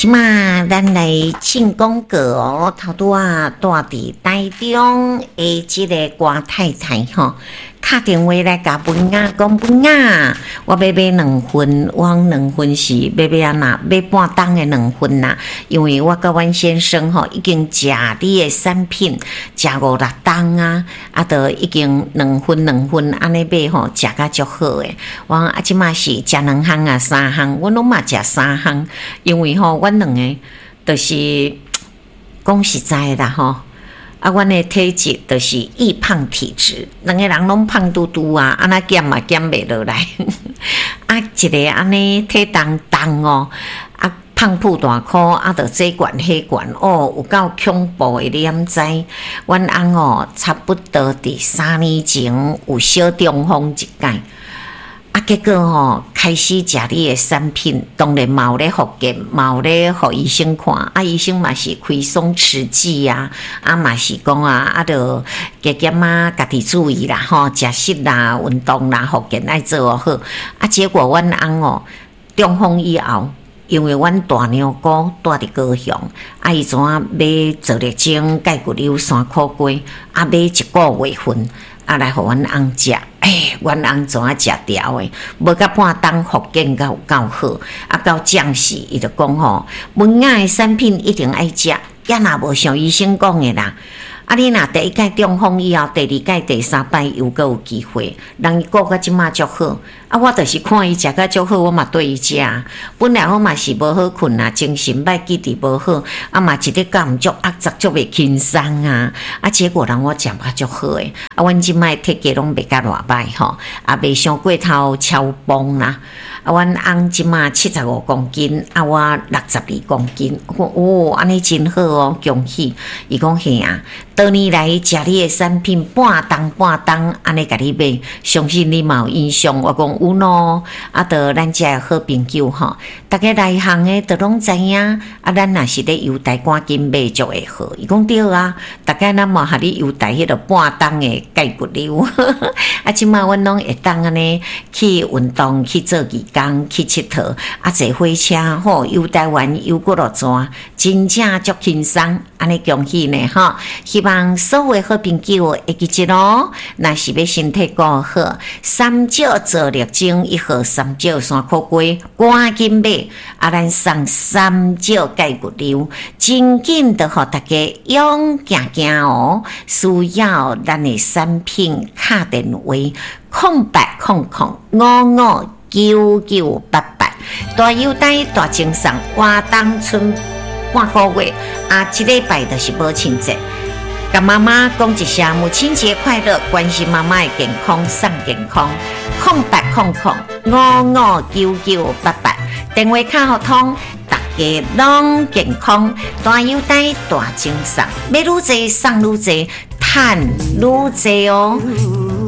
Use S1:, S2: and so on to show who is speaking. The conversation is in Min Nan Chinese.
S1: 這馬咱來進廣告哦，頭拄仔住佇台中的這个郭太太吼，敲電話來共文雅講，文雅，我欲買兩份，我講兩份是欲買按怎？買半擔的兩份啦，因為我佮阮先生吼已經食你的產品，食五六冬啊，啊，都已經兩份兩份按呢買吼，食甲足好的。我講啊，這馬是食兩項啊，三項，阮攏嘛食三項，因為吼，阮兩个就是講實在啦吼。啊，阮的體質就是易胖體質，兩个人攏胖嘟嘟啊，按怎減嘛減袂落來。啊，一个按呢體重重哦，啊胖腹大箍，啊，著這懸彼懸哦，有夠恐怖的，你敢知？阮翁哦，差不多佇3年前有小中風一擺。啊，結果吼，開始食你的產品，當然嘛有咧復健，嘛有咧予醫生看。啊，醫生嘛是開鬆弛劑啊，啊嘛是講啊，啊著加減啊，家己注意啦，吼，食食啦，運動啦，復健愛做好。啊，結果阮翁哦，中風以後，因為阮大娘姑住佇高雄，啊，伊怎啊買皂綠精、鈣骨溜、山苦瓜，啊買一個月份，啊來予阮翁食。欸，阮翁怎啊食牢的？無甲半冬復健閣有夠好，啊到將時伊就講吼，文雅的產品一定愛食，也若無像醫生講的啦。啊，你若第一擺中風以後，第二擺、第三擺又閣有機會，人伊顧甲這馬足好。啊，我就是看伊食甲足好，我嘛綴伊食。本來我嘛是無好睏啊，精神歹，記憶無好，啊嘛一日到晚足壓雜，足袂輕鬆啊。啊，結果人我食甲足好的，啊，阮這擺體格攏袂甲偌歹吼，啊，袂傷過頭超磅啦。啊，阮翁這馬75公斤，啊，我62公斤。我講哦，按呢真好哦，恭喜！伊講嘿啊，多年來食你的產品，半冬半冬按呢共你買，相信你嘛有印象。我講有喏，啊，著咱遮的好朋友吼，逐家內行的都攏知影。啊，咱若是咧郵台趕緊買就會好。伊講對啊，逐家咱嘛予你優待彼个半擔的鈣骨溜。啊，這馬阮攏會當按呢去運動，去做義工，去𨑨迌，啊，坐火車吼，遊台灣遊幾落逝，真正足輕鬆。按呢恭喜呢吼！希望所有好朋友會記得哦。若是欲身體顧好，三少皂綠精一盒，三少山苦瓜，趕緊買！啊，咱送三少鈣骨溜，真緊就予大家勇行行哦。需要咱的產品，敲電話0800559988，大優待大贈送，活動賰半個月，啊，這禮拜就是母親節。共媽媽講一聲母親節快樂，關心媽媽的健康送健康。0800559988，電話卡予通，大家攏健康，大優待大贈送，買愈濟送愈濟，趁愈濟哦。